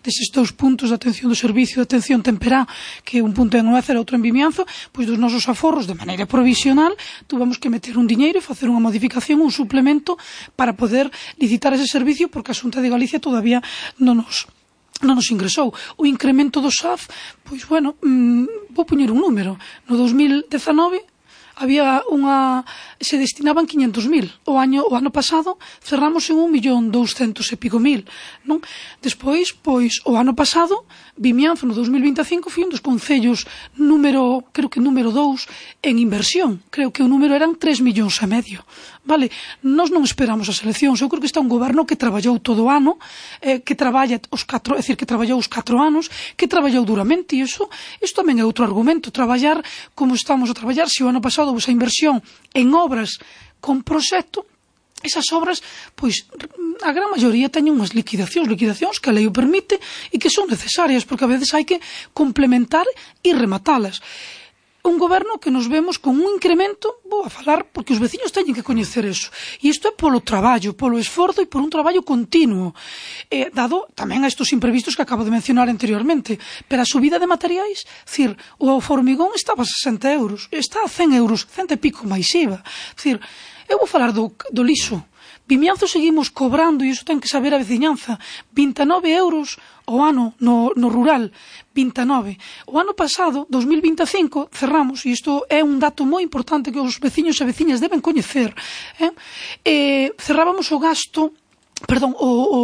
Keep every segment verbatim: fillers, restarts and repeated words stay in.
deses dous puntos de atención do servicio de atención temperá, que un punto en Noécer e outro en Vimianzo, pois dos nosos aforros, de maneira provisional, tuvemos que meter un diñeiro e facer unha modificación, un suplemento, para poder licitar ese servicio, porque a Xunta de Galicia todavía non nos non nos ingresou. O incremento do S A F, pois, bueno, mmm, vou poñer un número. No dos mil dezanove había unha, se destinaban quinhentos mil. O ano, o ano pasado cerramos en un millón douscentos e pico mil, non? Despois, pois, o ano pasado, Vimianzo no dos mil vinte e cinco foi un dos concellos número, creo que número dous en inversión. Creo que o número eran tres millóns e medio. Vale, nós non esperamos as eleccións. Eu creo que está un goberno que traballou todo o ano, eh, que traballa os catro, é dicir, que traballou os catro anos, que traballou duramente, e iso, iso tamén é outro argumento, traballar como estamos a traballar. Se o ano pasado houve esa inversión en obras con proxecto, esas obras, pois, a gran maioría teñen unhas liquidacións, liquidacións que a lei o permite e que son necesarias, porque a veces hai que complementar e rematalas. Un goberno que nos vemos con un incremento, vou a falar, porque os veciños teñen que coñecer eso. E isto é polo traballo, polo esforzo e por un traballo continuo. Eh, dado tamén a estos imprevistos que acabo de mencionar anteriormente. Pero a subida de materiais, cir, o formigón estaba a sesenta euros, está a cen euros, cento e pico máis I V A. Cir, eu vou falar do, do lixo. Vimianzo seguimos cobrando, e iso ten que saber a veciñanza, vinte e nove euros ao ano no, no rural, vinte e nove. O ano pasado, dos mil vinte e cinco, cerramos, e isto é un dato moi importante que os veciños e veciñas deben coñecer, eh? Eh, cerrábamos o gasto, perdón, o, o,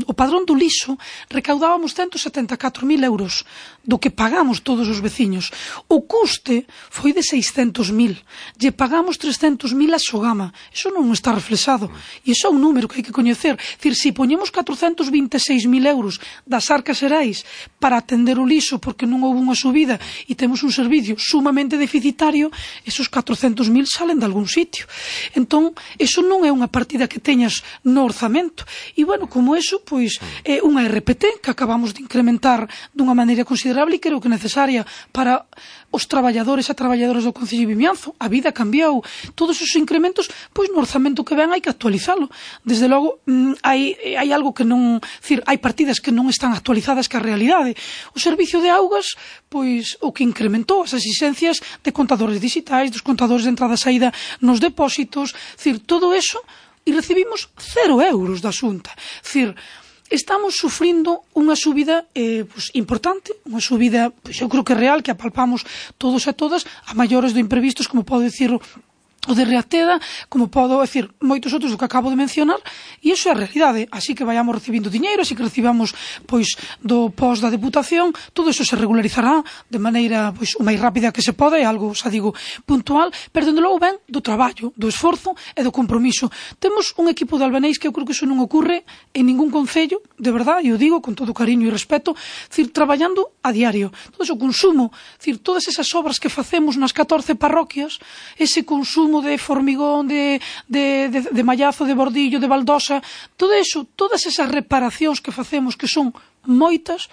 o padrón do lixo, recaudábamos ciento setenta e catro mil euros do que pagamos todos os veciños. O custe foi de seiscentos mil, lle pagamos trescentos mil a Sogama. Iso non está reflexado, e iso é un número que hai que coñecer. Dicir, se poñemos catrocentos vinte e seis mil euros das arcas xerais para atender o lixo porque non houve unha subida e temos un servicio sumamente deficitario, esos catrocentos mil salen de algún sitio. Entón, iso non é unha partida que teñas no orzamento. E, bueno, como eso, pois, é unha R P T que acabamos de incrementar dunha maneira considerable e creo que necesaria para os traballadores e traballadoras do Concello de Vimianzo. A vida cambiou. Todos os incrementos, pois, no orzamento que ven hai que actualizalo. Desde logo, hai, hai algo que non... Dicir, hai partidas que non están actualizadas que a realidade. O servicio de augas, pois, o que incrementou as exigencias de contadores digitais, dos contadores de entrada e saída nos depósitos, dicir, todo eso, e recibimos cero euros da Xunta. Dicir, estamos sufrindo unha subida eh, pues, importante, unha subida, pues, eu creo que real, que apalpamos todos e todas, a maiores do imprevistos, como podo dicir o de Reateda, como podo decir moitos outros do que acabo de mencionar, e iso é a realidade. Así que vayamos recibindo diñeiro, así que recibamos pois do pos da Deputación, todo iso se regularizará de maneira pois o máis rápida que se pode, é algo, xa digo, puntual, pero dende logo ben do traballo, do esforzo e do compromiso. Temos un equipo de albaneis que eu creo que iso non ocurre en ningún concello, de verdade, e o digo con todo cariño e respeto, decir, traballando a diario. Todo ese consumo, decir, todas esas obras que facemos nas catorce parroquias, ese consumo de formigón, de, de, de, de mallazo, de bordillo, de baldosa, todo eso, todas esas reparacións que facemos, que son moitas,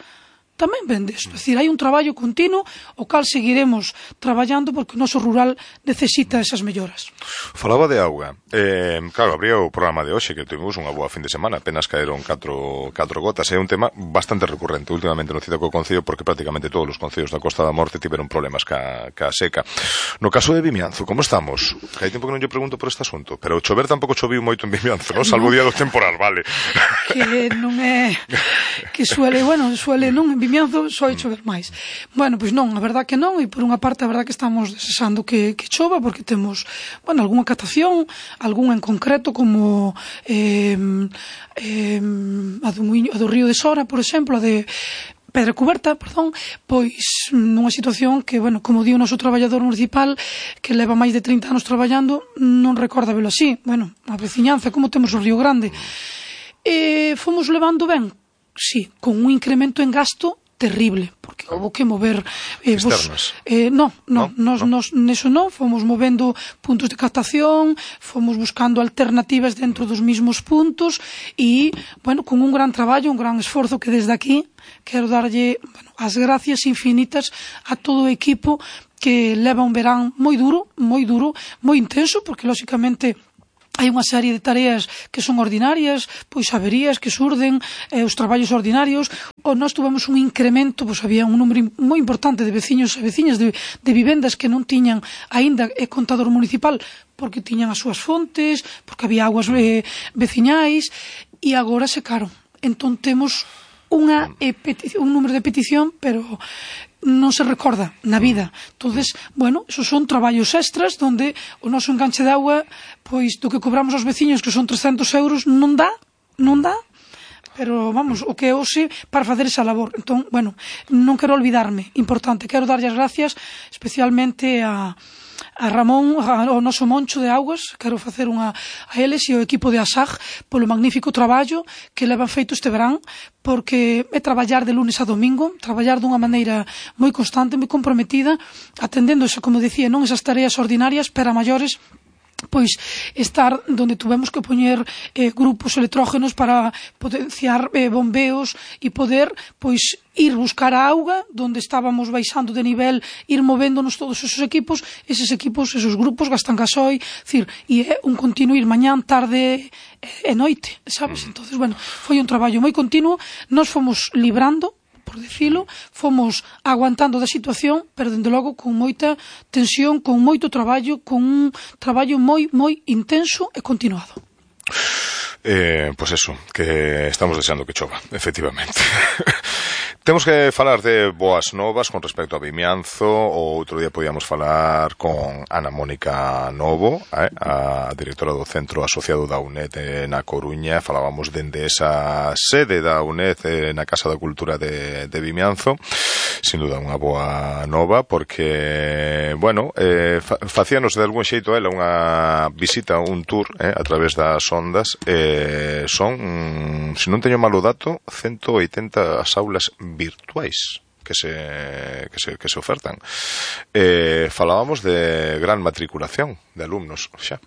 tamén ven desto. É dicir, hai un traballo continuo o cal seguiremos traballando porque o noso rural necesita esas melloras. Falaba de auga. Eh, claro, abría o programa de hoxe que tivemos unha boa fin de semana, apenas caeron catro, catro gotas. É un tema bastante recurrente últimamente no Cida co Concello porque prácticamente todos os concellos da Costa da Morte tiveron problemas ca, ca seca. No caso de Vimianzo, como estamos? Que hai tempo que non lle pregunto por este asunto, pero chover tampouco choviu moito en Vimianzo, non? Salvo o día do temporal, vale. Que non é... que suele, bueno, suele non... Vimianzo soi chover máis. Bueno, pois non, a verdad que non, e por unha parte a verdad que estamos desexando que, que chova, porque temos, bueno, algunha catación, algunha en concreto, como eh, eh, a, do Muiño, a do Río de Sora, por exemplo, a de Pedra Cuberta, perdón, pois nunha situación que, bueno, como di o noso traballador municipal, que leva máis de trinta anos traballando, non recorda velo así. Bueno, a veciñanza, como temos o Río Grande. E fomos levando ben, sí, con un incremento en gasto terrible, porque houve que mover eh, externas. Vos, eh, no, no, no, nos, no. nos, neso non, fomos movendo puntos de captación, fomos buscando alternativas dentro dos mismos puntos e, bueno, con un gran traballo, un gran esforzo que desde aquí quero darlle, bueno, as gracias infinitas a todo o equipo que leva un verán moi duro, moi duro, moi intenso, porque lóxicamente hai unha serie de tareas que son ordinarias, pois averías que surden, eh, os traballos ordinarios, ou nós tuvemos un incremento, pois había un número moi importante de veciños e veciñas de, de vivendas que non tiñan aínda eh, contador municipal, porque tiñan as súas fontes, porque había aguas eh, veciñais, e agora secaron. Entón temos unha, eh, un número de petición, pero non se recorda na vida. Entonces, bueno, esos son traballos extras donde o noso enganche de agua, pois do que cobramos aos veciños, que son trescentos euros, non dá, non dá, pero vamos, o que é hoxe para facer esa labor. Entón, bueno, non quero olvidarme, importante, quero darlle as gracias especialmente a a Ramón, ao noso Moncho de Augas, quero facer unha a eles e ao equipo de ASAG polo magnífico traballo que levan feito este verán, porque é traballar de lunes a domingo, traballar dunha maneira moi constante, moi comprometida, atendendo, esa, como decía, non esas tareas ordinarias, pero a maiores, pois estar donde tuvemos que poñer eh, grupos electrógenos para potenciar eh, bombeos e poder pois ir buscar a auga donde estábamos baixando de nivel, ir movéndonos todos esos equipos, eses equipos, esos grupos gastan gasoil, decir, e é un continuo ir mañán, tarde e noite, sabes? Entonces, bueno, foi un traballo moi continuo, nós fomos librando, por dicilo, fomos aguantando da situación, pero dende logo con moita tensión, con moito traballo, con un traballo moi, moi intenso e continuado. Eh, pois pues eso, que estamos deseando que chova, efectivamente. Temos que falar de boas novas con respecto a Vimianzo. O outro día podíamos falar con Ana Mónica Novo, eh, a directora do Centro Asociado da U N E D na Coruña. Falábamos dende esa sede da U N E D eh, na Casa da Cultura de, de Vimianzo. Sin duda unha boa nova, porque, bueno, eh, facíanos de algún xeito ela unha visita, un tour eh, a través das ondas. Eh, son, mm, se non teño malo dato, ciento oitenta as aulas virtuais que se, que se, que se ofertan. Eh, falábamos de gran matriculación de alumnos xa.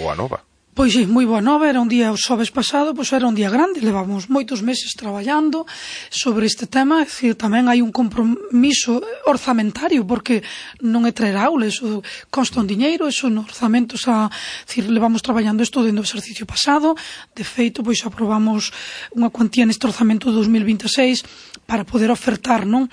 Boa nova. Pois sí, moi boa nova, era un día, o xoves pasado, pois era un día grande, levamos moitos meses traballando sobre este tema, é dicir, tamén hai un compromiso orzamentario, porque non é traer aulas, o consta un diñeiro, eso no orzamento, xa, dicir, levamos traballando isto dentro do exercicio pasado, de feito, pois aprobamos unha cuantía neste orzamento de dos mil vinteseis para poder ofertar, non?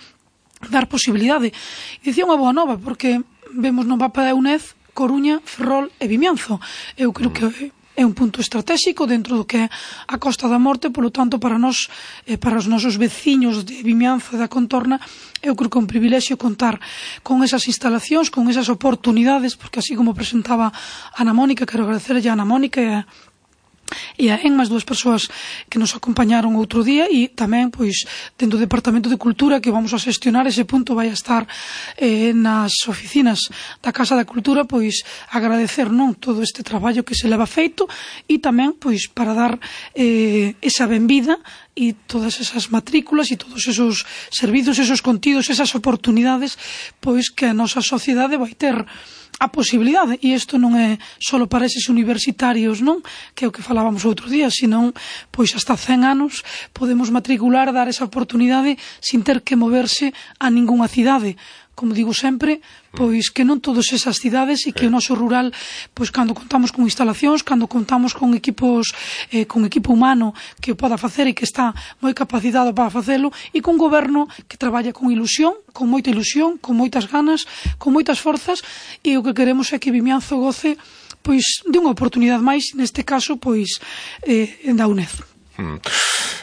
Dar posibilidade. E dicía unha boa nova, porque vemos no mapa da U N E D Coruña, Ferrol e Vimianzo. Eu creo que é un punto estratégico dentro do que é a Costa da Morte, polo tanto, para nós, eh, para os nosos veciños de Vimianzo e da contorna, eu creo que é un privilexio contar con esas instalacións, con esas oportunidades, porque así como presentaba Ana Mónica, quero agradecerlle a Ana Mónica e a e a Enmas, dúas persoas que nos acompañaron outro día, e tamén, pois, dentro do Departamento de Cultura, que vamos a xestionar ese punto, vai a estar eh, nas oficinas da Casa da Cultura, pois, agradecer, non, todo este traballo que se leva feito, e tamén, pois, para dar eh, esa benvida e todas esas matrículas e todos esos servizos, esos contidos, esas oportunidades, pois, que a nosa sociedade vai ter a posibilidade, e isto non é só para eses universitarios, non, que é o que falábamos outro día, senón, pois hasta cen anos podemos matricular, dar esa oportunidade sin ter que moverse a ningunha cidade. Como digo sempre, pois que non todas esas cidades, e que o noso rural, pois cando contamos con instalacións, cando contamos con equipos, eh, con equipo humano que o poda facer e que está moi capacitado para facelo, e con goberno que traballa con ilusión, con moita ilusión, con moitas ganas, con moitas forzas, e o que queremos é que Vimianzo goce pois de unha oportunidade máis, neste caso, pois eh, da U N E D. Mm.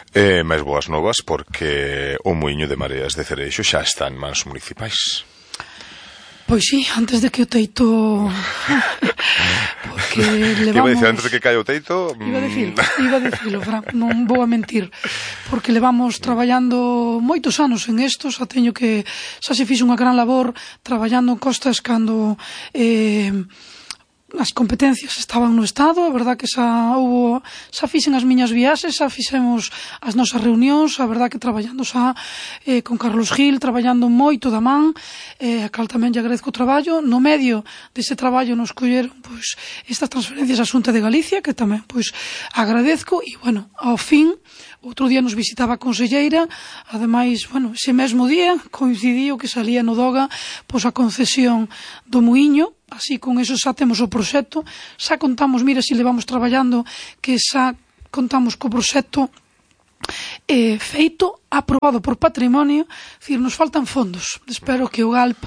Eh, máis boas novas, porque o muiño de Mareas de Cereixo xa está en mans municipais. Pois sí, antes de que o teito porque levamos... Iba a dicir, antes de que caia o teito... Iba a dicir, iba a dicirlo, Fran, non vou a mentir, porque levamos traballando moitos anos en isto, xa teño que... xa se fixo unha gran labor traballando en costas cando... Eh, as competencias estaban no Estado, a verdad que xa houve, xa fixen as miñas viaxes, xa fixemos as nosas reunións, a verdad que traballando xa eh, con Carlos Gil, traballando moito da man, eh, a cal tamén lle agradezco o traballo. No medio dese traballo nos colleron pois estas transferencias á Xunta de Galicia, que tamén pois agradezco, e bueno, ao fin outro día nos visitaba a conselleira, ademais, bueno, ese mesmo día coincidiu que salía no Doga pois a concesión do muiño, así con eso xa temos o proxecto, xa contamos, mira, se levamos traballando, que xa contamos co proxecto eh, feito, aprobado por patrimonio, dicir, nos faltan fondos. Espero que o Galp,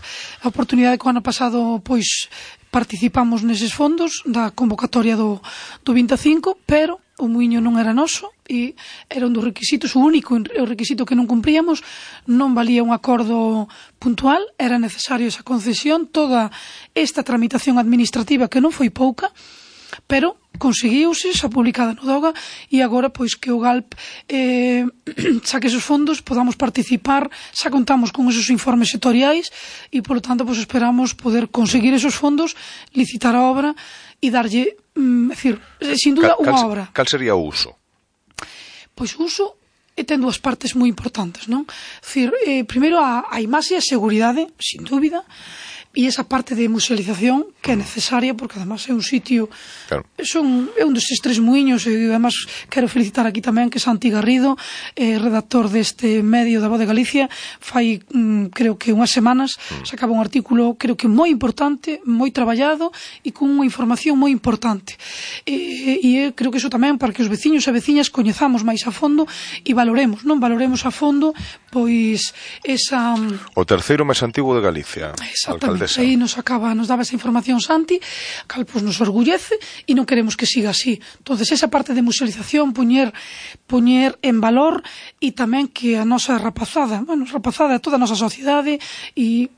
a oportunidade que o ano pasado, pois, participamos neses fondos da convocatoria do, do vinte e cinco, pero o muiño non era noso e era un dos requisitos, o único o requisito que non cumpríamos, non valía un acordo puntual, era necesario esa concesión, toda esta tramitación administrativa que non foi pouca, pero conseguiuse, xa publicada no DOGA, e agora pois que o Galp eh, saque esos fondos, podamos participar, xa contamos con esos informes sectoriais e, polo tanto, pois esperamos poder conseguir esos fondos, licitar a obra e darlle, mm, decir, sin duda, unha obra. Cal sería o uso? Pois o uso e ten dúas partes moi importantes, non? Decir, eh, primeiro a, a imaxe e a seguridade, sin dúbida, e esa parte de musealización que é necesaria, porque además é un sitio, claro. son, é un destes tres muiños, e además quero felicitar aquí tamén que Santi Garrido, eh, redactor deste medio da Voz de Galicia, fai mm, creo que unhas semanas mm. sacaba un artículo creo que moi importante, moi traballado e con unha información moi importante, e, e creo que iso tamén para que os veciños e veciñas coñezamos máis a fondo e valoremos, non valoremos a fondo pois esa... O terceiro máis antigo de Galicia. Exactamente. Aí nos acaba, nos daba esa información Santi, cal pues nos orgullece e non queremos que siga así. Entonces esa parte de musealización, poñer poñer en valor e tamén que a nosa rapazada, bueno, rapazada toda a nosa sociedade e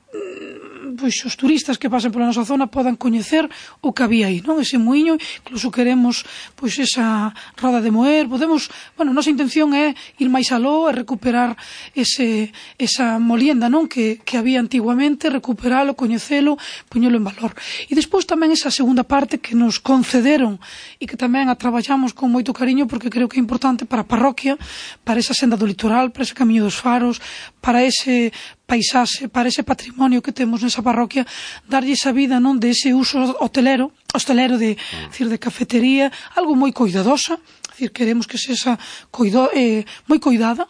pois os turistas que pasen pola nosa zona podan coñecer o que había aí, non? Ese muiño, incluso queremos pois esa roda de moer, podemos, bueno, a nosa intención é ir máis aló e recuperar ese esa molienda, non? Que, que había antiguamente, recuperalo, coñecelo, poñelo en valor. E despois tamén esa segunda parte que nos concederon e que tamén a traballamos con moito cariño porque creo que é importante para a parroquia, para esa senda do litoral, para ese camiño dos faros, para ese paisaxe, para ese patrimonio que temos nesa parroquia, darlle esa vida, non, de ese uso hotelero, hostelero de, mm. decir, de cafetería, algo moi coidadosa, decir, queremos que sexa coido, eh, moi coidada,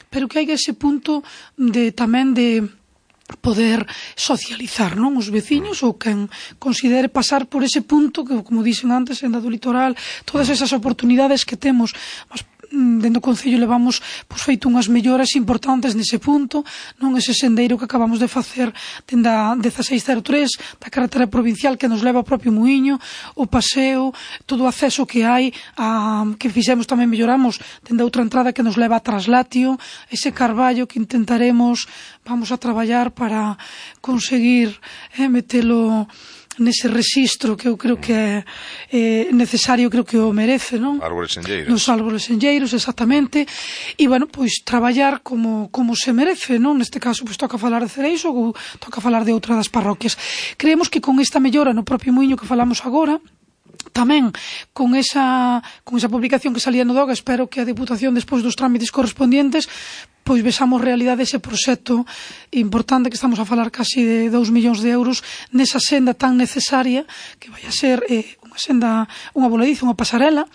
pero que haiga ese punto de tamén de poder socializar, non, os veciños ou quen considere pasar por ese punto que, como dixen antes, en da do litoral, todas esas oportunidades que temos, mas dentro do Concello levamos pois, feito unhas melloras importantes nese punto, non ese sendeiro que acabamos de facer dende a dieciséis cero tres da carretera provincial que nos leva ao propio muiño, o paseo, todo o acceso que hai, a, que fixemos tamén melloramos dende a outra entrada que nos leva a Traslatio, ese carballo que intentaremos, vamos a traballar para conseguir eh, metelo nese rexistro que eu creo que é eh, necesario, creo que o merece, non? Árbores enlleiros. Nos árbores enlleiros, exactamente. E, bueno, pois traballar como, como se merece, non? Neste caso, pois toca falar de Cereixo ou toca falar de outra das parroquias. Creemos que con esta mellora no propio muiño que falamos agora, tamén con esa, con esa publicación que salía no DOGA, espero que a Deputación, despois dos trámites correspondientes, pois vexamos realidade ese proxecto importante que estamos a falar casi de dous millóns de euros nesa senda tan necesaria que vai a ser eh, unha senda, unha voladiza, unha pasarela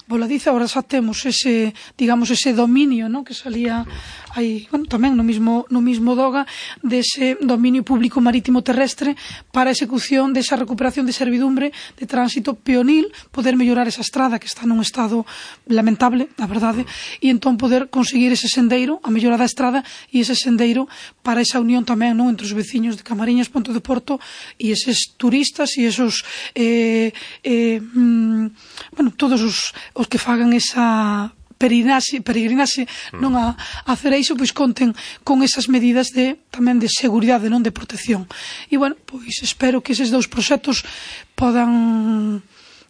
voladiza. Agora xa temos ese, digamos, ese dominio, ¿no? Que salía aí, bueno, tamén no mismo, no mismo DOGA, dese dominio público marítimo terrestre para a execución desa recuperación de servidumbre de tránsito peonil, poder mellorar esa estrada que está nun estado lamentable, na verdade, e entón poder conseguir ese sendeiro, a mellora da estrada e ese sendeiro para esa unión tamén, non, entre os veciños de Camariñas, Ponte de Porto e eses turistas e esos eh, eh, mm, bueno, todos os os que fagan esa peregrinaxe, peregrinaxe mm. non a, a Cereixo, pois conten con esas medidas de tamén de seguridade, non de protección. E, bueno, pois espero que eses dous proxectos podan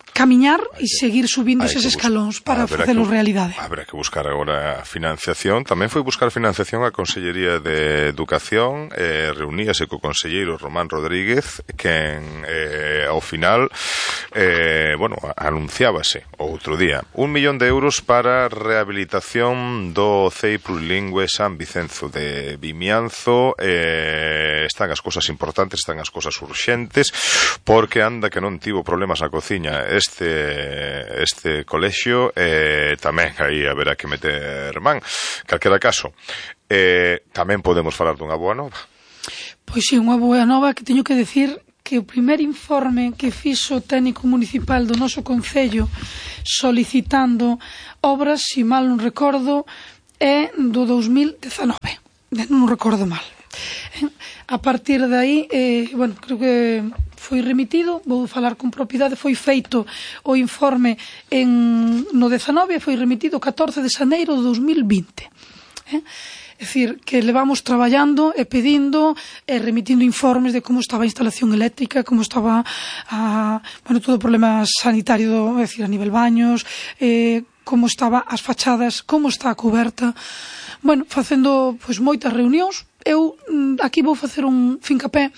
camiñar e seguir subindo eses escalóns para facelo realidade. Habrá que buscar agora financiación. Tamén foi buscar financiación a Consellería de Educación, eh, reuníase co conselleiro Román Rodríguez, quen eh, ao final eh, bueno, anunciábase outro día un millón de euros para rehabilitación do C E I plurilingüe San Vicenzo de Vimianzo. Eh, están as cosas importantes, están as cosas urxentes, porque anda que non tivo problemas na cociña este este colexio, eh, tamén aí haberá que meter man. Calquera caso, eh, tamén podemos falar dunha boa nova. Pois si, unha boa nova que teño que decir que o primeiro informe que fixo o técnico municipal do noso concello solicitando obras, se mal non recordo, é do dous mil dezanove, non recordo mal. A partir de aí, eh, bueno, creo que foi remitido, vou falar con propiedade, foi feito o informe en, no dezanove e foi remitido o catorce de xaneiro do dous mil vinte. Eh? É dicir, que levamos traballando e pedindo e remitindo informes de como estaba a instalación eléctrica, como estaba a, bueno, todo o problema sanitario, é dicir, a nivel baños, eh, como estaba as fachadas, como está a coberta. Bueno, facendo pois moitas reunións. Eu aquí vou facer un fincapé.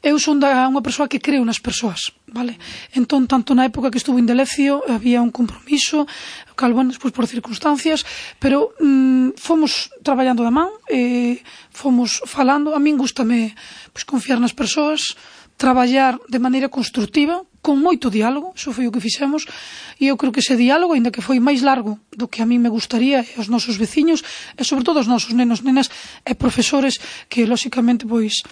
Eu son da, unha persoa que creo nas persoas, vale? Entón, tanto na época que estuvo en Delecio, había un compromiso, cal, bueno, despois por circunstancias, pero mm, fomos traballando da man, eh, fomos falando. A min gústame pois, confiar nas persoas, traballar de maneira constructiva, con moito diálogo, iso foi o que fixemos, e eu creo que ese diálogo, ainda que foi máis largo do que a mí me gustaría, e aos nosos veciños, e sobre todo aos nosos nenos, nenas e profesores, que, lóxicamente, pois,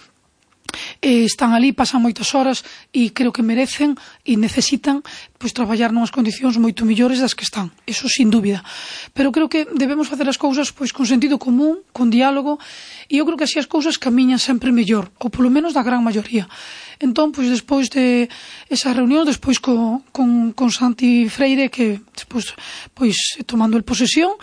eh, están ali, pasan moitas horas e creo que merecen e necesitan pois traballar nunhas condicións moito mellores das que están, eso sin dúbida, pero creo que debemos facer as cousas pois con sentido común, con diálogo, e eu creo que así as cousas camiñan sempre mellor, ou polo menos da gran maioría. Entón, pois despois de esa reunión, despois co, con, con Santi Freire, que despois pois tomando el posesión,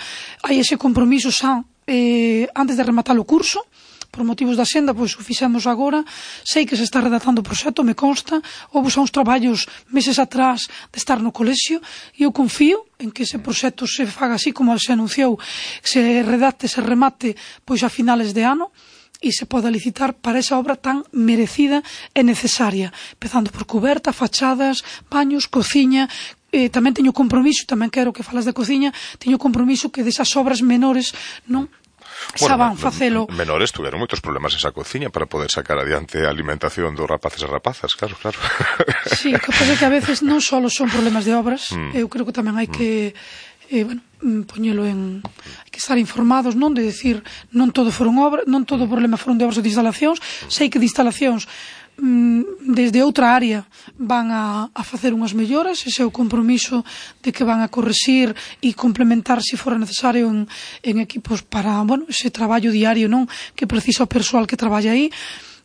hai ese compromiso xa eh, antes de rematar o curso. Por motivos da senda, pois o fixemos agora. Sei que se está redactando o proxecto, me consta. Houve xa uns traballos meses atrás de estar no colexio e eu confío en que ese proxecto se faga así como se anunciou, se redacte, se remate pois a finales de ano e se poda licitar para esa obra tan merecida e necesaria, empezando por cuberta, fachadas, baños, cociña. Eh, tamén teño compromiso, tamén quero que falas da cociña, teño compromiso que desas obras menores non Bueno, saban facelo. Menores tuveron moitos problemas esa cociña para poder sacar adiante a alimentación dos rapaces e rapazas, claro, claro. Sí, o que pasa é que a veces non só son problemas de obras, mm. eu creo que tamén hai que eh, bueno, poñelo en, hai que estar informados, non de decir non todo foron obras, non todo o problema foron de obras ou de instalacións. Sei que de instalacións desde outra área van a, a facer unhas melloras, ese é o compromiso de que van a correxir e complementar se fora necesario en, en equipos para, bueno, ese traballo diario non que precisa o persoal que traballa aí.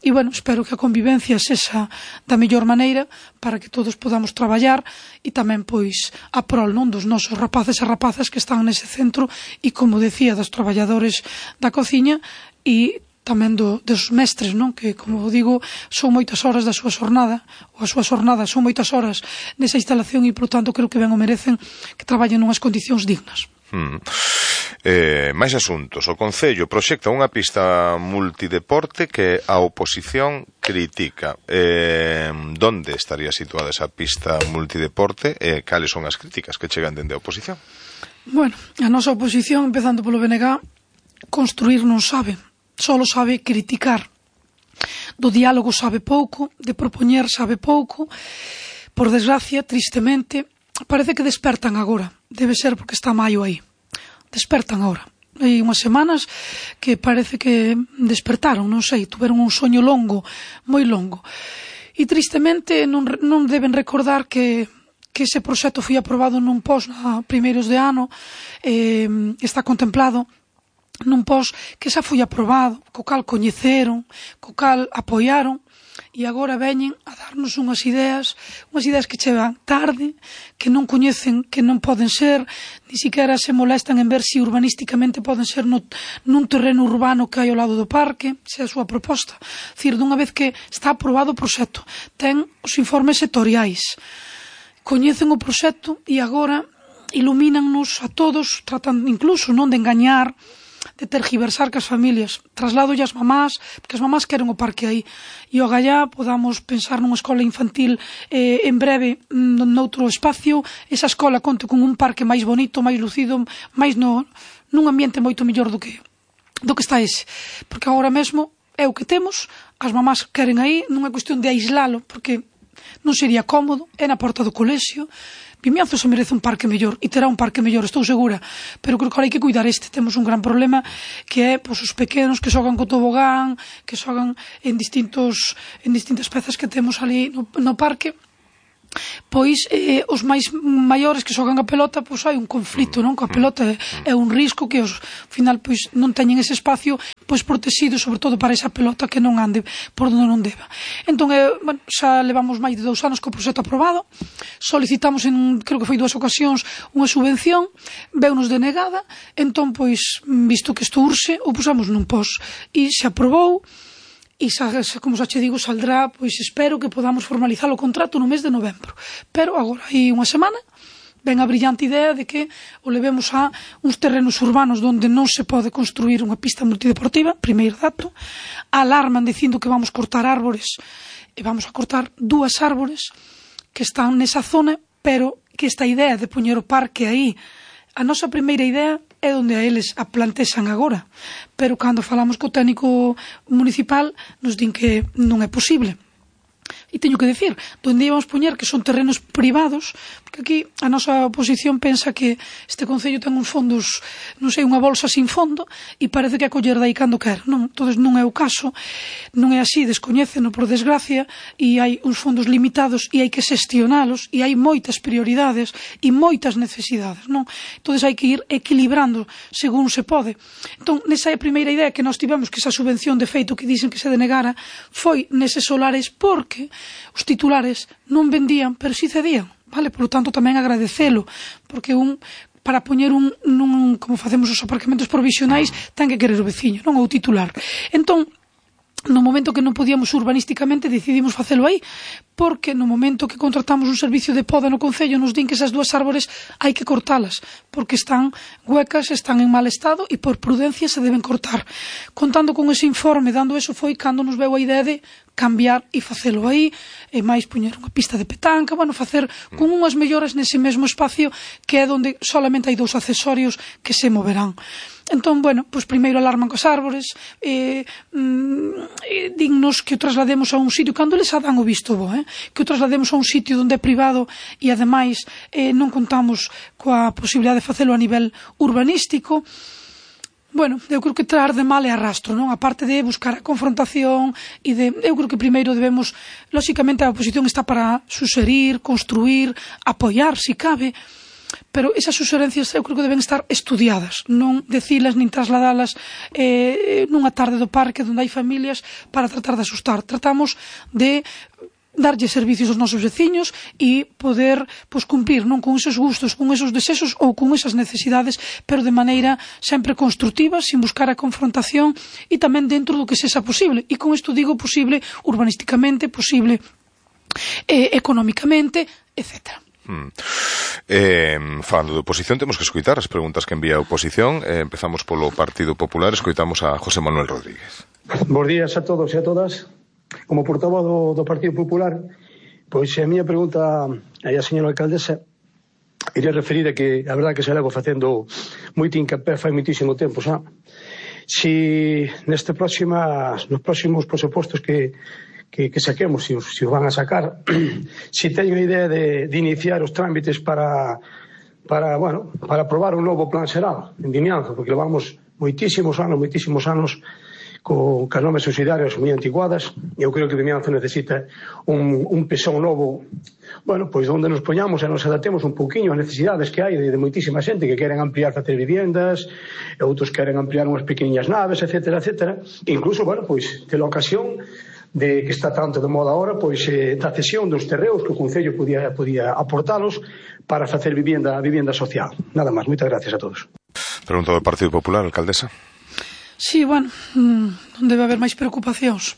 E, bueno, espero que a convivencia sexa da mellor maneira para que todos podamos traballar e tamén, pois, a prol, non, dos nosos rapaces e rapazas que están nese centro e, como decía, dos traballadores da cociña e tamén do, dos mestres, non? Que, como digo, son moitas horas da súa xornada, ou a súa xornada son moitas horas nesa instalación e, por tanto, creo que ben o merecen que traballen nunhas condicións dignas. Hmm. Eh, máis asuntos. O Concello proxecta unha pista multideporte que a oposición critica. Eh, donde estaría situada esa pista multideporte e eh, cales son as críticas que chegan dende a oposición? Bueno, a nosa oposición, empezando polo B N G, construir non sabe. Solo sabe criticar. Do diálogo sabe pouco, de propoñer sabe pouco. Por desgracia, tristemente, parece que despertan agora. Debe ser porque está maio aí. Despertan agora. Hai unhas semanas que parece que despertaron, non sei, tuveron un soño longo, moi longo. E tristemente non, non deben recordar que que ese proxecto foi aprobado nun pos a primeiros de ano, eh, está contemplado nun pos que xa foi aprobado, co cal coñeceron, co cal apoiaron, e agora veñen a darnos unhas ideas, unhas ideas que chegan tarde, que non coñecen, que non poden ser, ni siquiera se molestan en ver se urbanísticamente poden ser no, nun terreno urbano que hai ao lado do parque, se é a súa proposta. É dicir, dunha vez que está aprobado o proxecto, ten os informes sectoriais, coñecen o proxecto e agora ilumínannos a todos, tratan incluso non de engañar, de tergiversar que as familias, traslado as mamás, porque as mamás queren o parque aí, e o gallá podamos pensar nunha escola infantil eh, en breve noutro espacio, esa escola conte con un parque máis bonito, máis lucido, máis no, nun ambiente moito mellor do que do que está ese, porque agora mesmo é o que temos, as mamás queren aí, non é cuestión de aislalo, porque non sería cómodo, é na porta do colexio, Vimianzo se merece un parque mellor e terá un parque mellor, estou segura, pero creo que ahora hai que cuidar este. Temos un gran problema que é pois, os pequenos que xogan co tobogán, que xogan en distintos en distintas pezas que temos ali no, no parque. Pois eh, os máis maiores que xogan a pelota, pois hai un conflito, non? Coa pelota é, é un risco que os, ao final, pois non teñen ese espacio pois protegido, sobre todo para esa pelota que non ande por onde non deba. Entón, eh, bueno, xa levamos máis de dous anos co proxecto aprobado, solicitamos en, creo que foi dúas ocasións, unha subvención, veunos denegada, entón, pois, visto que isto urxe, o pusamos nun pos e se aprobou. E, como xa che digo, saldrá, pois espero que podamos formalizar o contrato no mes de novembro. Pero agora, hai unha semana, ven a brillante idea de que o levemos a uns terrenos urbanos onde non se pode construir unha pista multideportiva, primeiro dato, alarman dicindo que vamos cortar árbores, e vamos a cortar dúas árbores que están nesa zona, pero que esta idea de poñer o parque aí, a nosa primeira idea é onde a eles a plantexan agora, pero cando falamos co técnico municipal nos din que non é posible. E teño que decir, onde íbamos poñer que son terrenos privados, porque aquí a nosa oposición pensa que este concello ten uns fondos, non sei, unha bolsa sin fondo, e parece que a coller dai cando quer. Non, entonces non é o caso, non é así, descoñéceno por desgracia, e hai uns fondos limitados e hai que xestionalos, e hai moitas prioridades e moitas necesidades, non? Entonces hai que ir equilibrando según se pode. Entón, nesa primeira idea que nós tivemos, que esa subvención de feito que dicen que se denegara, foi neses solares porque os titulares non vendían, pero si cedían, vale? Por lo tanto, tamén agradecelo, porque un para poñer un, nun, como facemos os aparcamentos provisionais, ten que querer o veciño, non o titular. Entón, no momento que non podíamos urbanísticamente, decidimos facelo aí, porque no momento que contratamos un servicio de poda no concello nos din que esas dúas árbores hai que cortalas, porque están huecas, están en mal estado e por prudencia se deben cortar. Contando con ese informe, dando eso, foi cando nos veu a idea de cambiar e facelo aí, e máis poñer unha pista de petanca, bueno, facer con unhas melloras nese mesmo espacio que é onde solamente hai dous accesorios que se moverán. Entón, bueno, pois primeiro alarman cos árbores, eh, mm, dignos que o traslademos a un sitio, cando les dan o visto bo, eh, que o traslademos a un sitio onde é privado e ademais eh, non contamos coa posibilidade de facelo a nivel urbanístico. Bueno, eu creo que traer de mal é arrastro, non? A parte de buscar a confrontación e de... Eu creo que primeiro debemos... Lóxicamente a oposición está para suxerir, construir, apoiar, si cabe, pero esas suxerencias eu creo que deben estar estudiadas, non decilas nin trasladalas eh, nunha tarde do parque onde hai familias para tratar de asustar. Tratamos de darlle servicios aos nosos veciños e poder pois, cumprir non con esos gustos, con esos desexos ou con esas necesidades, pero de maneira sempre constructiva, sin buscar a confrontación e tamén dentro do que sexa posible. E con isto digo posible urbanísticamente, posible eh, económicamente, etcétera. Hmm. Eh, falando de oposición, temos que escoitar as preguntas que envía a oposición. eh, Empezamos polo Partido Popular, escoitamos a José Manuel Rodríguez. Bos días a todos e a todas. Como portavoz do, do Partido Popular, pois a miña pregunta aí a señora alcaldesa iría referir a que a verdade que se levo facendo moito incapé fai moitísimo tempo xa. Si neste próximas, nos próximos presupostos que, que, que saquemos, si os, si os van a sacar, si teño a idea de, de iniciar os trámites para, para, bueno, para aprobar un novo plan xeral en Vimianzo, porque levamos moitísimos anos, moitísimos anos co as normas subsidiarias moi antiguadas. Eu creo que Vimianzo necesita un, un pesón novo, bueno, pois onde nos poñamos e nos adaptemos un pouquiño ás necesidades que hai de, de moitísima xente que queren ampliar, facer viviendas, e outros queren ampliar unhas pequeniñas naves, etcétera, etcétera. E incluso, bueno, pois, tela ocasión de que está tanto de moda ahora, pois, eh, da cesión dos terreos que o Concello podía, podía aportalos para facer vivienda, vivienda social. Nada máis, moitas gracias a todos. Pregunta do Partido Popular, alcaldesa. Sí, bueno, non debe haber máis preocupacións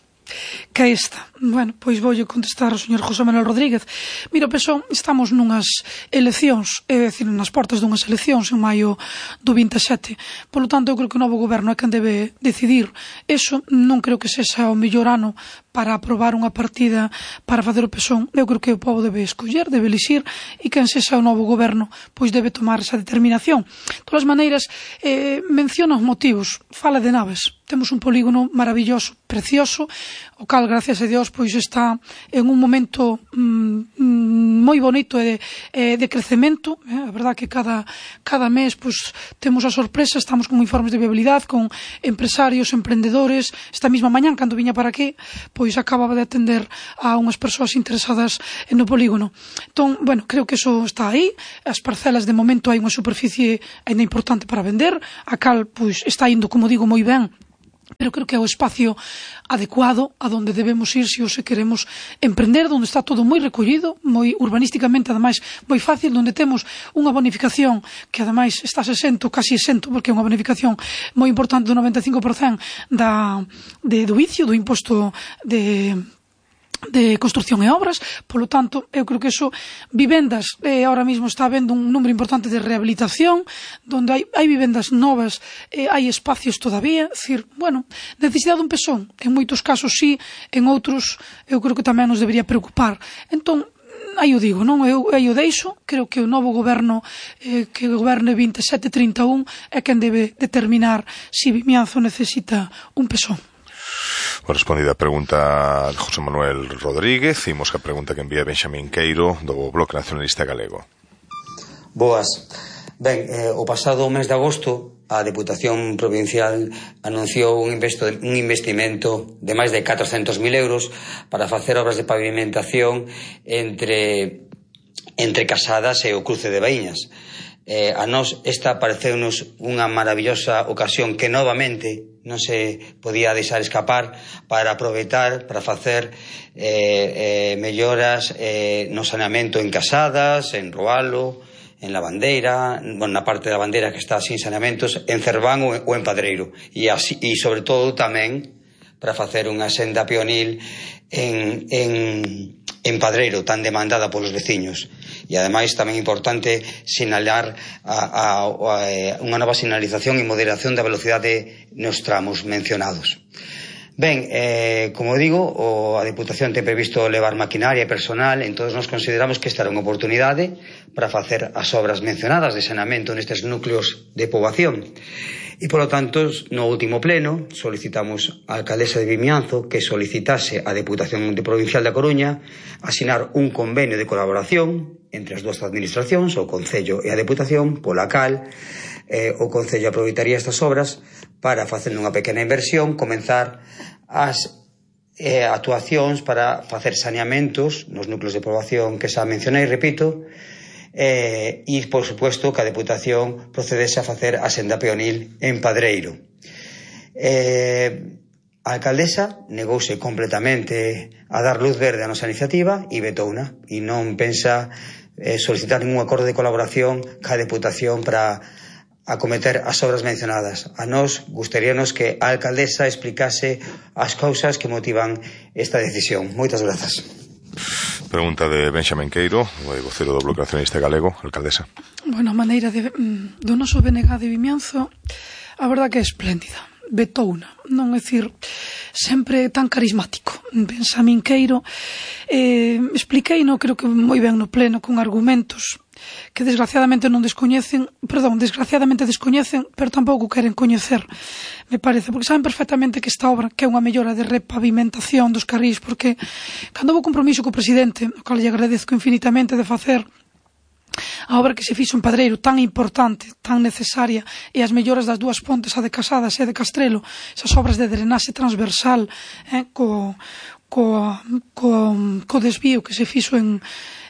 que esta. Bueno, pois voulle contestar ao señor José Manuel Rodríguez. Mira, Pesón, estamos nunhas eleccións, é dicir, nas portas dunhas eleccións en maio do vinte e sete. Por lo tanto, eu creo que o novo goberno é quen debe decidir. Eso non creo que sexa o mellor ano para aprobar unha partida para facer o Pesón. Eu creo que o povo debe escoller, debe elixir, e quen sexa o novo goberno pois debe tomar esa determinación. De todas maneiras, eh, menciona os motivos, fala de naves. Temos un polígono maravilloso, precioso, o cal, gracias a Dios, pois está en un momento mm, moi bonito e de, eh, de crecemento. Eh? A verdad que cada, cada mes pois, temos a sorpresa, estamos con informes de viabilidade, con empresarios, emprendedores. Esta mesma mañán, cando viña para aquí, pois acababa de atender a unhas persoas interesadas no polígono. Entón, bueno, creo que eso está aí. As parcelas, de momento, hai unha superficie ainda importante para vender, a cal, pois, está indo, como digo, moi ben, pero creo que é o espacio adecuado a donde debemos ir se o se queremos emprender, donde está todo moi recollido, moi urbanísticamente, ademais, moi fácil, donde temos unha bonificación que, ademais, está exento, casi exento, porque é unha bonificación moi importante do noventa e cinco por cento da, de, do vicio, do imposto de... de construcción e obras. Polo tanto, eu creo que eso, vivendas, eh, ahora mismo está habendo un número importante de rehabilitación, donde hai, hai vivendas novas, eh, hai espacios todavía, decir, bueno, necesidade dun Pesón, en moitos casos sí, en outros eu creo que tamén nos debería preocupar. Entón, aí o digo, non? Eu, aí o deixo, creo que o novo goberno eh, que goberne vinte e sete trinta e un é quen debe determinar se Vimianzo necesita un Pesón. Respondida a pregunta de José Manuel Rodríguez, imos que a pregunta que envía Benxamín Queiro do Bloque Nacionalista Galego. Boas. Ben, eh, o pasado mes de agosto a Deputación Provincial anunciou un, investo, un investimento de máis de catrocentos mil euros para facer obras de pavimentación entre, entre Casadas e o cruce de Baíñas. Eh, a nós esta pareceunos unha maravillosa ocasión que novamente non se podía deixar escapar para aproveitar, para facer eh, eh, melloras eh, no saneamento en Casadas, en Roalo, en Lavandeira, bueno, na parte da Bandeira que está sin saneamentos, en Cerván ou, ou en Padreiro, e, así, e sobre todo tamén para facer unha senda peonil en, en, en Padreiro, tan demandada polos veciños. E ademais tamén é importante sinalar a, a, a, unha nova sinalización e moderación da velocidade nos tramos mencionados. Ben, eh, como digo, o, a Deputación ten previsto levar maquinaria e personal, entón nos consideramos que esta era unha oportunidade para facer as obras mencionadas de saneamento nestes núcleos de poboación. E, polo tanto, no último pleno solicitamos á alcaldesa de Vimianzo que solicitase á Deputación Provincial da Coruña asinar un convenio de colaboración entre as dúas administracións, o Concello e a Deputación, pola cal eh, o Concello aproveitaría estas obras para, facendo unha pequena inversión, comenzar as eh, actuacións para facer saneamentos nos núcleos de poboación que xa mencionei, repito, eh, e, por supuesto, que a Deputación procedese a facer a senda peonil en Padreiro. Eh, a alcaldesa negouse completamente a dar luz verde a nosa iniciativa e vetouna, e non pensa eh, solicitar ningún acordo de colaboración ca Deputación para acometer as obras mencionadas. A nós gustaríanos que a alcaldesa explicase as causas que motivan esta decisión. Moitas grazas. Pregunta de Benxamín Queiro, o vocero do Bloque Nacionalista Galego, alcaldesa. Bueno, a maneira de, do noso B N G de Vimianzo, a verdad que é espléndida. Betouna, non é dicir, sempre tan carismático. Benxamín Queiro, eh, expliquei, no, creo que moi ben no pleno, con argumentos que desgraciadamente non descoñecen, perdón, desgraciadamente descoñecen, pero tampouco queren coñecer, me parece, porque saben perfectamente que esta obra, que é unha mellora de repavimentación dos carrís, porque cando houve compromiso co presidente, o cal lle agradezco infinitamente de facer a obra que se fixo en Padreiro, tan importante, tan necesaria, e as melloras das dúas pontes, a de Casadas e a de Castrelo, esas obras de drenaxe transversal, eh, co, co, co, co desvío que se fixo en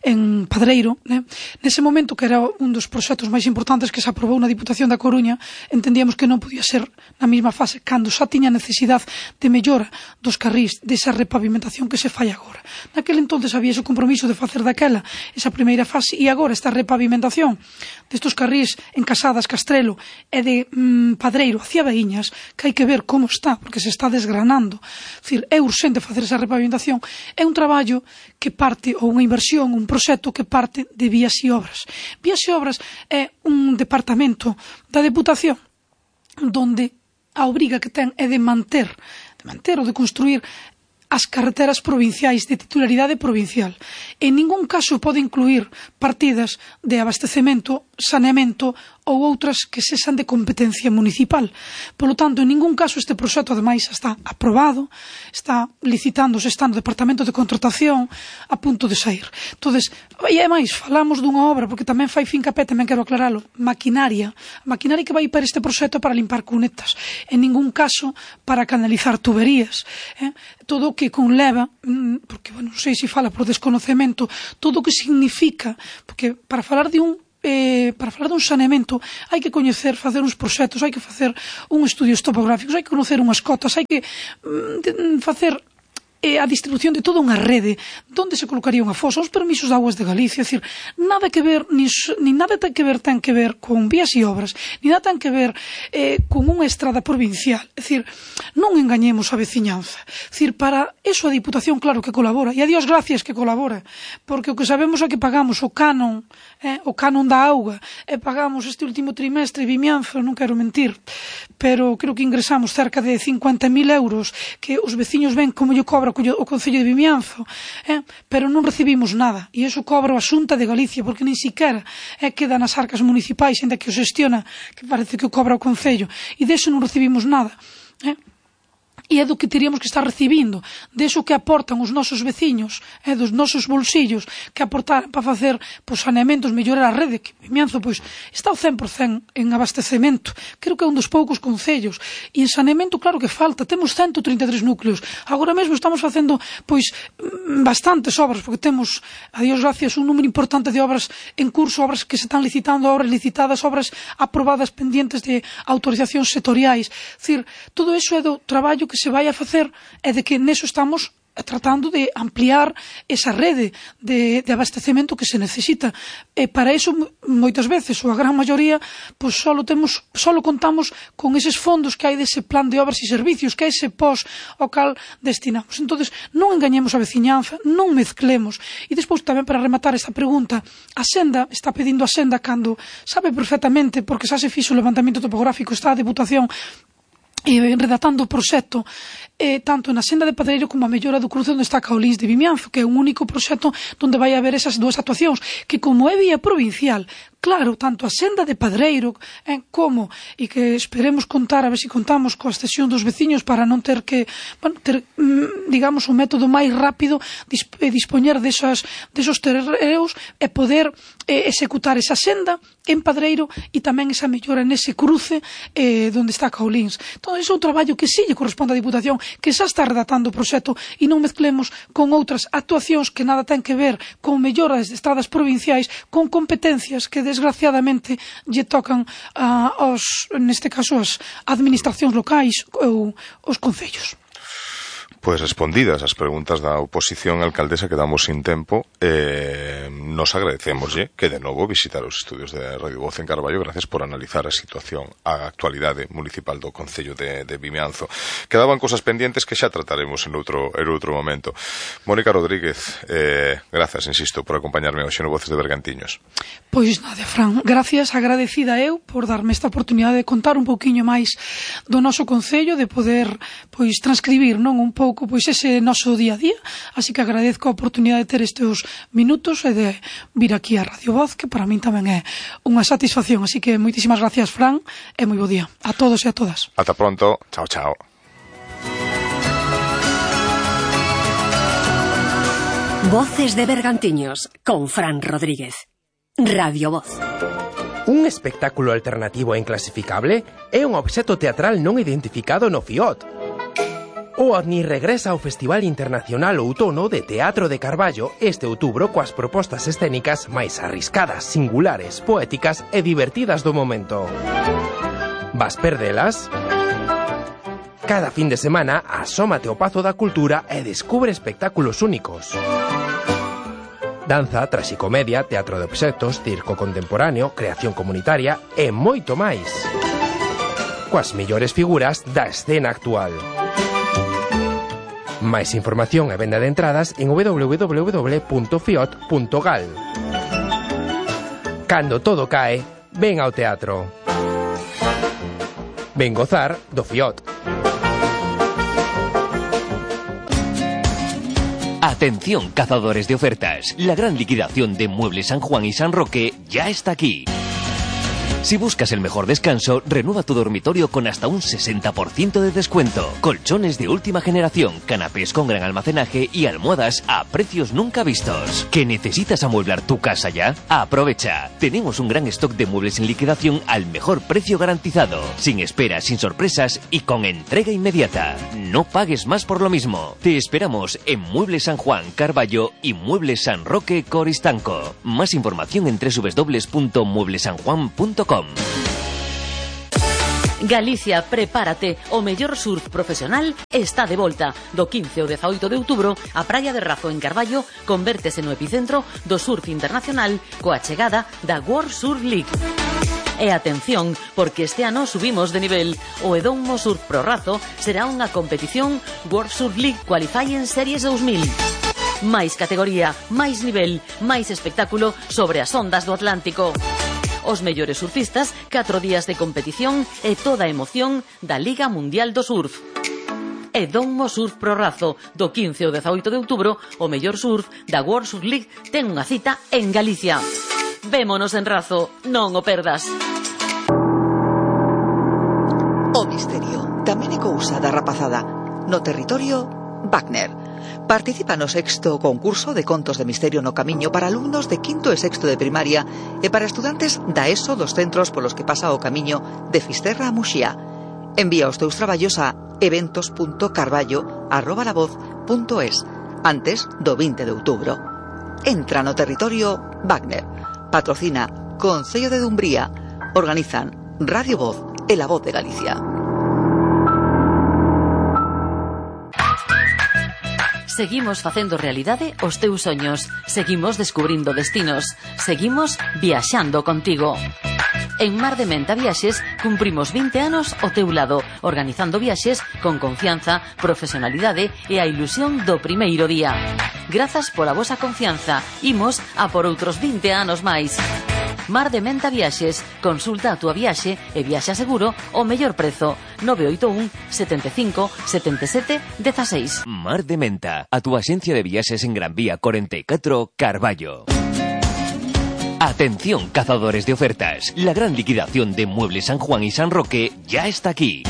en Padreiro, né? Nese momento, que era un dos proxectos máis importantes que se aprobou na Diputación da Coruña, entendíamos que non podía ser na mesma fase, cando xa tiña necesidade de mellora dos carrís, desa repavimentación que se fai agora. Naquele entonces había ese compromiso de facer daquela esa primeira fase, e agora esta repavimentación destos carrís en Casadas, Castrelo e de mmm, Padreiro hacia Baíñas, que hai que ver como está, porque se está desgranando. É dicir, é urxente facer esa repavimentación. É un traballo que parte, ou unha inversión, un proxecto que parte de Vías e Obras. Vías e Obras é un departamento da Deputación donde a obriga que ten é de manter, de manter ou de construir as carreteras provinciais de titularidade provincial. En ningún caso pode incluir partidas de abastecemento, saneamento ou outras que sexan de competencia municipal. Por lo tanto, en ningún caso este proxecto, ademais, está aprobado, está licitándose, está no Departamento de Contratación, a punto de sair. Entonces, e ademais, falamos dunha obra, porque tamén fai fincapé, tamén quero aclaralo, maquinaria, a maquinaria que vai para este proxecto para limpar cunetas, en ningún caso para canalizar tuberías, eh? Todo o que conleva, porque, bueno, non sei se fala por desconocemento, todo o que significa, porque para falar de un Eh, para falar dun saneamento hai que coñecer, facer uns proxectos, hai que facer uns estudios topográficos, hai que conocer unhas cotas, hai que mm, facer eh, a distribución de toda unha rede, onde se colocaría unha fosa, os permisos de aguas de Galicia, é dicir, nada que ver, ni, ni nada ten que ver, ten que ver con vías e obras, ni nada ten que ver eh, con unha estrada provincial, é dicir, non engañemos a veciñanza, é dicir, para eso a Diputación claro que colabora, e a Dios gracias que colabora, porque o que sabemos é que pagamos o canon, eh, o canon da auga, e pagamos este último trimestre Vimianzo, non quero mentir, pero creo que ingresamos cerca de cincuenta mil euros, que os veciños ven como lle cobra o Concello de Vimianzo, eh? Pero non recibimos nada, e iso cobra a Xunta de Galicia, porque nin siquiera eh, queda nas arcas municipais, ainda que o xestiona, que parece que o cobra o Concello, e deso non recibimos nada, eh? E é do que teríamos que estar recibindo, deso que aportan os nosos veciños, é dos nosos bolsillos, que aportar para facer pois, saneamentos, mellorar a rede, que Vimianzo pois, está ao cen por cen en abastecemento, creo que é un dos poucos concellos, e en saneamento claro que falta, temos ciento trinta e tres núcleos, agora mesmo estamos facendo pois bastantes obras, porque temos, a Dios gracias, un número importante de obras en curso, obras que se están licitando, obras licitadas, obras aprobadas pendientes de autorizacións sectoriais, é dicir, todo iso é do traballo que se vai a facer é de que neso estamos tratando de ampliar esa rede de, de abastecemento que se necesita. E para iso, moitas veces, ou a gran maioría, pois solo temos, solo contamos con eses fondos que hai dese plan de obras e servicios, que é ese pos ao cal destinamos. Entonces, non engañemos a veciñanza, non mezclemos. E despois tamén para rematar esta pregunta, a Senda está pedindo a Senda cando sabe perfectamente, porque xa se fixo o levantamento topográfico, está a Deputación e redactando o proxecto eh, tanto na Senda de Padreiro como a mellora do cruce onde está Caolíns de Vimianzo, que é un único proxecto onde vai haber esas dúas actuacións, que como é vía provincial, claro, tanto a Senda de Padreiro eh, como, e que esperemos contar, a ver se contamos coa cesión dos veciños para non ter que, bueno, ter, digamos, un método máis rápido de dispoñer desas, desos terreos e poder eh, executar esa senda en Padreiro e tamén esa mellora nese cruce eh, onde está Caolíns. Todo iso é un traballo que sí lle corresponde á Diputación, que xa está redactando o proxecto e non mezclemos con outras actuacións que nada ten que ver con melloras de estradas provinciais, con competencias que desgraciadamente lle tocan a, aos, neste caso, as administracións locais ou os concellos. Pois respondidas as preguntas da oposición, alcaldesa, quedamos sin tempo. Eh, nos agradecemoslle que de novo visitar os estudios de Radio Voz en Carballo. Gracias por analizar a situación, a actualidade municipal do Concello de, de Vimianzo. Quedaban cosas pendientes que xa trataremos en outro, en outro momento. Mónica Rodríguez, eh, gracias, insisto, por acompañarme hoxe no Voces de Bergantiños. Pois nada, Fran, gracias, agradecida eu por darme esta oportunidade de contar un pouquiño máis do noso Concello, de poder pois transcribir, non, un pouco pois ese noso día a día, así que agradezco a oportunidade de ter estes minutos e de vir aquí a Radio Voz, que para min tamén é unha satisfacción, así que moitísimas gracias, Fran, e moi bo día a todos e a todas. Ata pronto, chao, chao. Voces de Bergantiños con Fran Rodríguez. Radio Voz. Un espectáculo alternativo e inclasificable é un obxecto teatral non identificado no FIOT. O OVNI regresa ao Festival Internacional Outono de Teatro de Carballo este outubro coas propostas escénicas máis arriscadas, singulares, poéticas e divertidas do momento. Vas perdelas? Cada fin de semana asómate ao Pazo da Cultura e descubre espectáculos únicos. Danza, traxicomedia, teatro de obxectos, circo contemporáneo, creación comunitaria e moito máis. Coas mellores figuras da escena actual. Máis información e venda de entradas en w w w punto fiot punto gal. Cando todo cae, ven ao teatro. Ven gozar do FIOT. Atención, cazadores de ofertas. La gran liquidación de Muebles San Juan y San Roque ya está aquí. Si buscas el mejor descanso, renueva tu dormitorio con hasta un sesenta por ciento de descuento. Colchones de última generación, canapés con gran almacenaje y almohadas a precios nunca vistos. ¿Que necesitas amueblar tu casa ya? Aprovecha. Tenemos un gran stock de muebles en liquidación al mejor precio garantizado. Sin esperas, sin sorpresas y con entrega inmediata. No pagues más por lo mismo. Te esperamos en Muebles San Juan, Carballo y Muebles San Roque, Coristanco. Más información en doble u doble u doble u punto muebles san juan punto com. Galicia, prepárate, o mellor surf profesional está de volta. Do quince ao dezaoito de outubro, a Praia de Razo en Carballo convértese no epicentro do surf internacional coa chegada da World Surf League. E atención, porque este ano subimos de nivel. O Edomo Surf Pro Razo será unha competición World Surf League Qualifying Series dous mil. Máis categoría, máis nivel, máis espectáculo sobre as ondas do Atlántico. Os mellores surfistas, catro días de competición e toda a emoción da Liga Mundial do Surf. Edomo Surf Pro Razo, do quince ao dezaoito de outubro, o mellor surf da World Surf League ten unha cita en Galicia. Vémonos en Razo, non o perdas. O misterio tamén é cousa da rapazada. No territorio, Wagner. Participa no sexto concurso de contos de misterio no Camiño para alumnos de quinto e sexto de primaria e para estudantes da ESO dos centros polos que pasa o Camiño de Fisterra a Muxía. Envía os teus traballos a eventos punto carballo arroba la voz punto es antes do vinte de outubro. Entra no territorio Wagner. Patrocina Concello de Dumbría. Organizan Radio Voz e La Voz de Galicia. Seguimos facendo realidade os teus soños. Seguimos descubrindo destinos. Seguimos viaxando contigo. En Mar de Menta Viaxes cumprimos vinte anos ao teu lado, organizando viaxes con confianza, profesionalidade e a ilusión do primeiro día. Grazas pola vosa confianza. Imos a por outros vinte anos máis. Mar de Menta Viaxes. Consulta a túa viaxe e viaxa seguro o mellor prezo. nove oito un, sete cinco, sete sete, uno seis. Mar de Menta, a tu axencia de viaxes en Gran Vía cuarenta y cuatro, Carballo. Atención, cazadores de ofertas. La gran liquidación de Muebles San Juan y San Roque ya está aquí.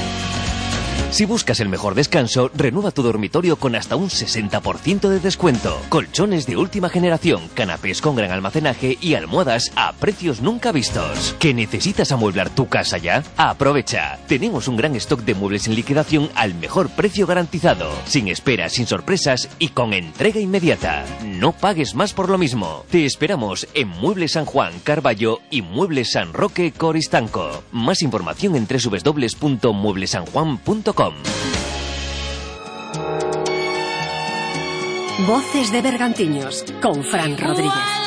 Si buscas el mejor descanso, renueva tu dormitorio con hasta un sesenta por ciento de descuento. Colchones de última generación, canapés con gran almacenaje y almohadas a precios nunca vistos. ¿Que necesitas amueblar tu casa ya? Aprovecha. Tenemos un gran stock de muebles en liquidación al mejor precio garantizado. Sin esperas, sin sorpresas y con entrega inmediata. No pagues más por lo mismo. Te esperamos en Muebles San Juan, Carballo y Muebles San Roque, Coristanco. Más información en doble u doble u doble u punto muebles san juan punto com. Voces de Bergantiños con Fran Rodríguez.